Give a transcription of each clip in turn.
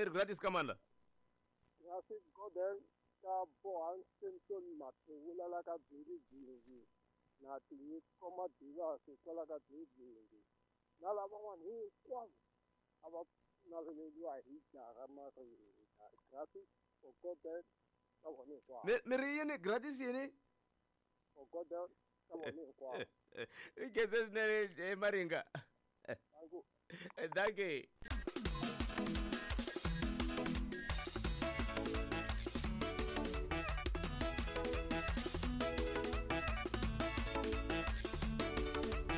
Mi ri gratis ka mani la? Gratis Gordon ka Bohan Simpson Mathevula la ka Dzingidzingi na Tinyiko Madivasi kwala ka Dzingidzingi na lavan'wana hinkwavo a va naveleriwa hi jaha Maringa. Gratis for Gordon ka vona hinkwavo. Mi ri yini? Gratis yini? For Gordon ka vona hinkwavo. I khense swinene Maringa. Thank you. Thank you.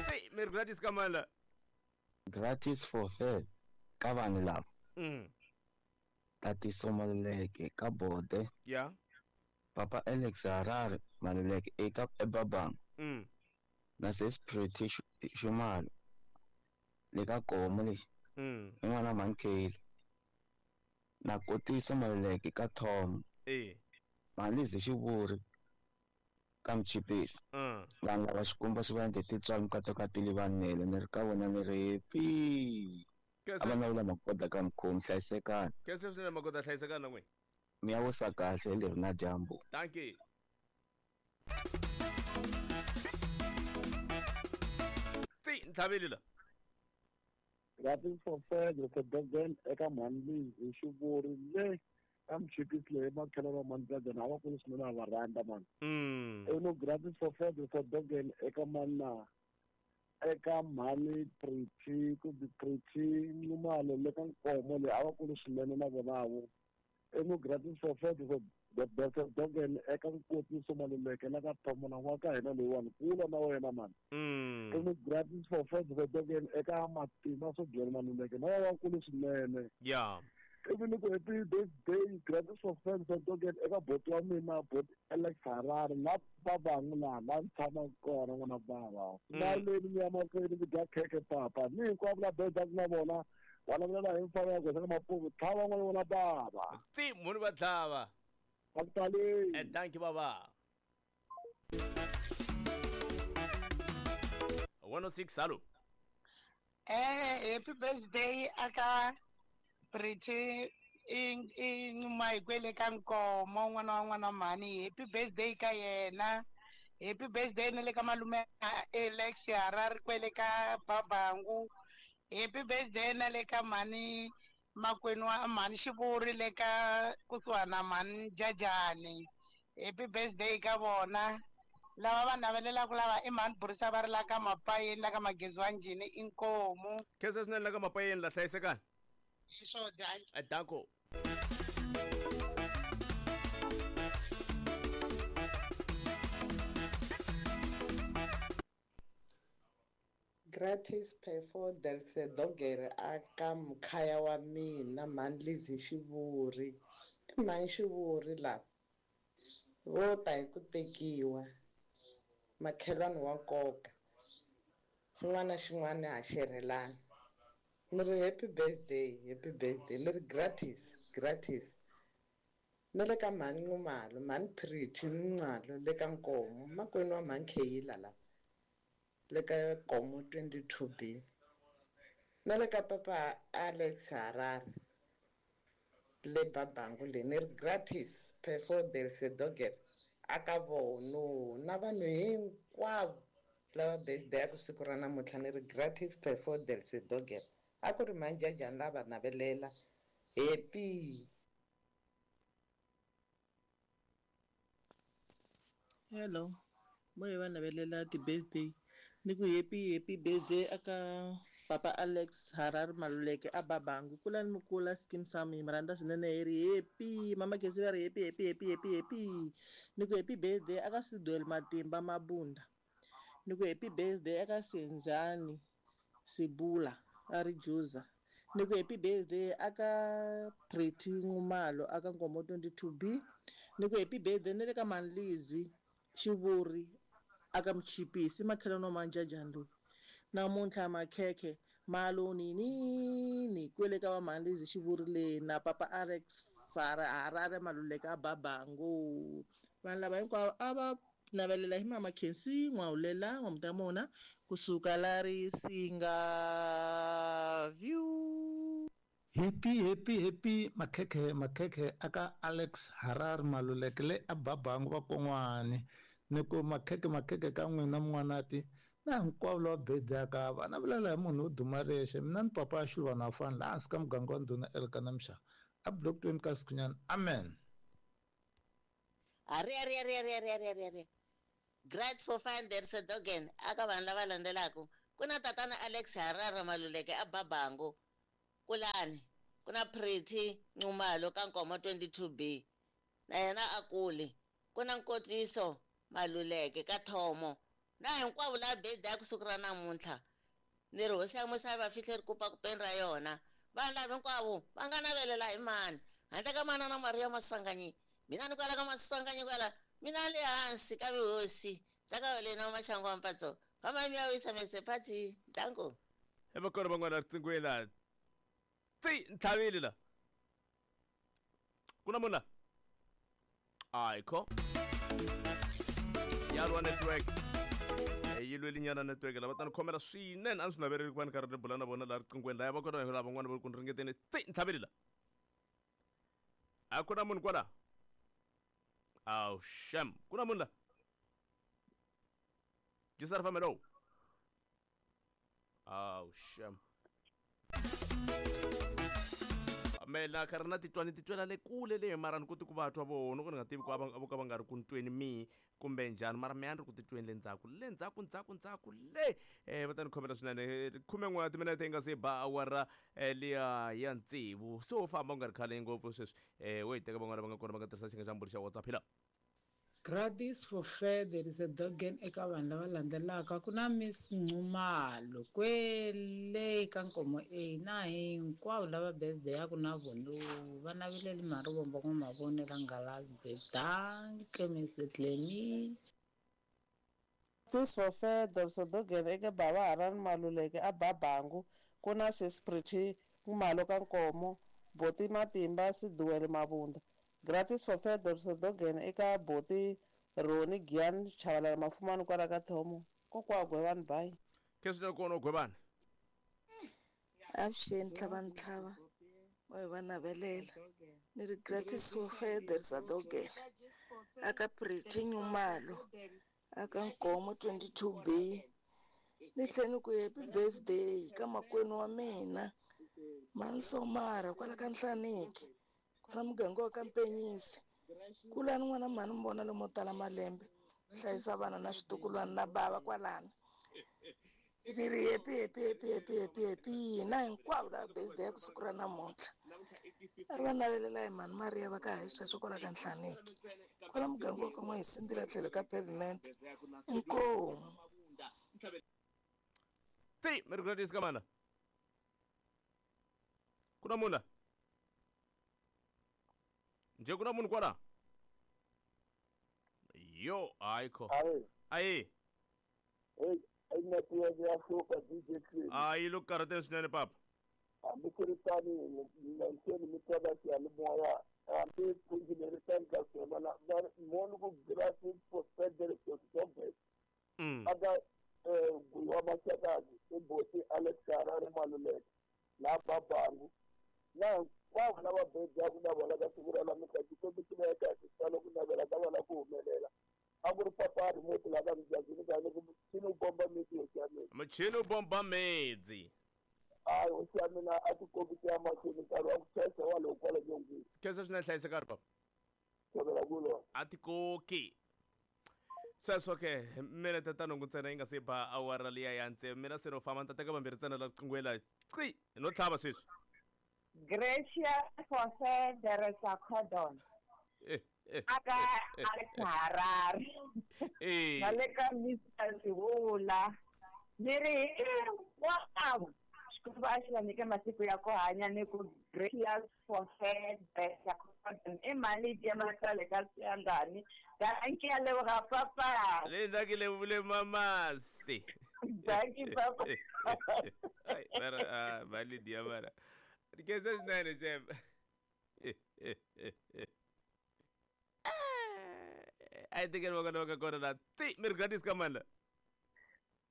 Hey, mi ri gratis ka mani la? Gratis for fair ka vanhu lava. Tatiso Maluleke ka Bode. Papa Alex Harare Maluleke eka eBabang. Na Sis Pretty Xumalo le ka Komo le. I n'wana Mankeli. Na Kotiso Maluleke ka Tom. Malizi Xivuri ka Mchipisi. Vanhu lava Xikwembu xi va endle tintswalo mikateko ka tili vanele ni ri ka vona ni ri happy. A va navela magoda ka mkhomi hlayisekani. Khensa swinene magoda hlayisekani na n'wina. Mi ya wisa kahle leri na dyambu. Thank you. Tsi ntlhaveli la. Gratis for fair for Durban eka Mhani Xivuri le ka Mchipisi leyi makhelo va Mhani Durban a va kulu swinene a va rhandza mani. Eno gratis for fair for Durban eka mana eka Mhani Pretty kumbe Pretty Nxumalo le ka Nkomo leyi a va kulu swinene na vona vo. Eno gratis for fair for Durban eka Nkotiso Maluleke la ka Thomona wa ka hina leyiwani kula na wena mani. Eno gratis for fair for Durban eka Matima Sobyela Maluleke na va kulu swinene. Ivi ni ku happy birthday gratis for fair for Durban eka boti wa mina boti Alex Harare la Babangu laha la ni tshamaka kona n'wana bava. Maleni mi ya mahlweni mi dya khekhe papa ni hinkwavo la bedaku na vona va lavulela hi mfanelo ya goza ka mapuku tlhava n'wana n'wana bava. Tsi munhu va tlhava. A ku taleni. Thank you baba. 106 hello. Happy birthday aka Pretty i Nxumalo kwele ka Nkomo n'wana wa n'wana mhani. Happy birthday ka yena. Happy birthday na le ka malume Alex Harare kwele ka Babangu. Happy birthday na le ka mhani makwenu wa mhani Xivuri le ka kusuhana mhani Jajani. Happy birthday ka vona. Lava va navelelaka lava i mhani Burisa va ri la ka Mapayeni la ka Magezi wa Njhini i Nkomu. Khensa swinene la ka Mapayeni la hlayisekani. Xiswo dankie. Danko. Gratis Perfo del Sedogere aka mkhaya wa mina Mhani Lizzy Xivuri. I Mhani Xivuri lava vo ta hi ku tekiwa makhelwani wa nkoka xin'wana na xin'wana ha xerhelana. Ni ri happy birthday, happy birthday. Ni ri gratis, gratis. Ni le ka Mhani Nxumalo, Mhani Pretty Nxumalo le ka Nkomo, makwenu wa Mhani Kheyila lava le ka Nkomo 22B. Na le ka Papa Alex Harare le Babangu le ni ri gratis Perfo del Sedogere aka vono na vanhu hinkwavo lava birthday ya ku siku ra namuntlha ni ri gratis Perfo del Sedogere. A ku ri Mhani Jajani lava navelela. Happy. Hello. Mo hi va navelela ti-birthday. Ni ku happy happy birthday aka Papa Alex Harare Maluleke a Babangu. Kulani mi kula skim sam hi mi rhandza swinene hi ri happy. Mama Khesi va ri happy happy happy happy happy. Ni ku happy birthday aka Sidwell Matimba Mabunda. Ni ku happy birthday aka Senzani Sibula a ri Juza. Ni ku happy birthday aka Pretty Nxumalo aka Nkomo 22B. Ni ku happy birthday ni le ka Mhani Lizzy Xivuri aka Mchipisi makhelwani wa Mhani loyi. Namuntlha makhekhe malo ninini kwele ka va Mhani Lizzy Xivuri le na Papa Alex Harare Maluleke a Babangu. Vanhu lava hinkwavo a va navelela hi Mama Khensi N'wahulela N'wamutamona kusuka la Risinga View. Happy happy happy makhekhe makhekhe aka Alex Harare Maluleke le a Babangu va kon'wani ni ku makhekhe makhekhe ka n'wina mun'wanati na hinkwavo lava bedaka vana vulela hi munhu wo duma rexe mina ni papa ya xiluvana wa fani laha hansi ka muganga wa ndhuna Elkana Mshaka a block 20 ka Sikhunyana amen. Ari ari ari ari ari ari ari ari Grade for fine there is a dogen aka vanhu lava landzelaka ku na tatana Alex Harare Maluleke a Babangu kulani ku na Pretty Nxumalo ka Nkomo 22B na yena a kuli ku na Nkotsiso Maluleke ka Thomo na hinkwavo lava birthday ku siku ra namuntlha ni ri hosi ya musa va fihle ri kupa kupeni ra yona vanhu lava hinkwavo va nga navelela hi mani handle ka manana Maria Masanganyi mina ni kwala ka Masanganyi kwala mina le hansi ka vuhosi bya ka wena Maxangu wa Mpatso famba mi ya wisa mese party danko e va kona van'wana riqingweni la tsi ntlhavile la ku na munhu la ayikho yalwa network yi lwelinyana network lava ta ni khomela swinene a ni swi navereli ku va ni karhi ni bula na vona laha riqingweni laya va kona lava van'wana va ri ku ni ringeteni tsi ntlhavile la a ku na munhu kwala aw shem ku na munhu la jisara famelo aw shem mela karhi na titwa ni titwela le kule le mara ni koti ku va twa vona ku ni nga tivi ku a vo ka va nga ri ku ni tweni mihi kumbe njhani mara mehe a ni ri ku titweni le ndzhaku le ndzhaku ndzhaku ndzhaku le va ta ni khomela swinene 11 wa timinete yi nga se ba awara liya ya tsevu se wo famba u nga ri khale ngopfu sweswi wo yi teka van'wana va nga kona va nga tirhisa xinga xa mbulu xa WhatsApp hi la. Gratis for fair there is a dogen eka vanhu lava landzelaka ku na Miss Nxumalo kwele ka Nkomo A na hinkwavo lava birthday ya ku na vona va naveleli Marivombo n'wa Nghalabye danke Miss Clemy. Gratis for fair there is a dogen eka bava Harani Maluleke a Babangu ku na Sis Pretty Nxumalo ka Nkomo Boti Matimba Siduwele Mabunda. Gratis for fair there is a dogen eka Boti Roni Gian Chavalala Mafumani kwala ka Thomo kokwa Gwevani bye. Keswi kona Gwevani. Avuxeni tlhava ntlhava wa va navelela ni ri gratis for fair there is a dogen aka Pretty Nxumalo aka Nkomo 22B ni tlhela ni ku happy birthday ka makwenu wa mina Mansomara kwala ka Nhlaniki kwala muganga wa ka Mpenyisi kulani n'wana mhani mi vona lomo tala malembe hlayisa vana na switukulwana na bava kwalano ni ri happy happy happy happy happy happy na hinkwavo lava birthday ya ku siku ra namuntlha a va navelela hi mhani Maria va ka hi sweswo kwala ka Nhlaniki kwala muganga wa ka N'wahisindila tlhelo ka pavement inkomu. Ti mi ri gratis ka mana ku na munhu la nje ku na munhu kwala yo ayikho ayi hey network ya hlupha DJ Clem ayi lo karhateni swinene papa hambi ku ri tani nanseni mi twa ka xiyanimoya hambi pfundzi leri tani ka swona moni ku gratis for federal dogen aka Gwiwa Mashakazi i Boti Alex Harare Maluleke na Babangu na hinkwavo lava bejaku na vona ka siku ra namuntlha Xikwembu xi veka hi xitalo ku navela ka vona ku humelela a ku ri papa remote la ka mujazini ka ni ku muchini wu bomba miti hosi ya mina muchini wu bomba miti hayi hosi ya mina a tikombi ti ya mahlweni nkarhi wa ku chayisa walowo kwala nyongeni khensa swinene hlayiseka ri papa tshovela kulo a tikoki sweswo ke minete ta nhungu ntsena yi nga se ba awara liya ya ntsevu mina se no famba ni ta teka vambirhi ntsena la riqingweni la ci no tlhava sweswi. Gracious for fair there is a cordon aka Alex Harare na le ka Mr Sivula ni ri hinkwavo Xikwembu a xi va nyike masiku ya ku hanya ni ku gracious for fair there is a cordon i mali ya matsale ka siyandani danki ya leboga papa le nna ke lebole mamase danki papa ai mara mali dia mara diketsa swinene xem a yi tekeli va kona va ka kona la ti mi ri gratis ka mani la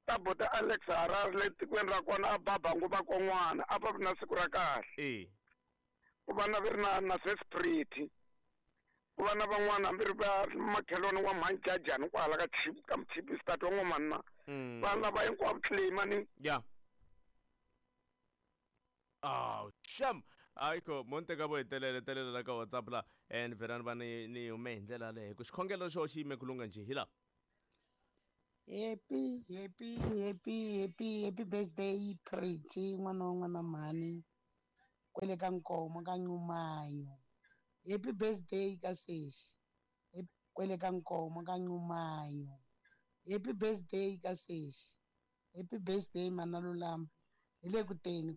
ta bota Alex Harare le tikweni ra kona a Babangu va kon'wana a va na siku ra kahle. Ku va na vi ri na na sespriti ku va na van'wana hambi ri va makhelwani wa mhanjajani kwahala ka chip ka mchipistati wa n'wamanna. Vanhu lava hinkwavo claim ni. Ya. Oh, sham. Ayikho mo ni teka vo hetelela hetelela la ka WhatsApp la and vhela ni va ni ni hume hi ndlela yaleyo ku xikhongelo xo xi yime ku lungha njhe hi la. Happy, happy, happy, happy, happy birthday Pretty n'wana wa n'wana mhani kwele ka Nkomo ka Nxumayo. Happy birthday ka sesi kwele ka Nkomo ka Nxumayo. Happy birthday ka sesi. Happy birthday mana Lulama. Hi le ku teni.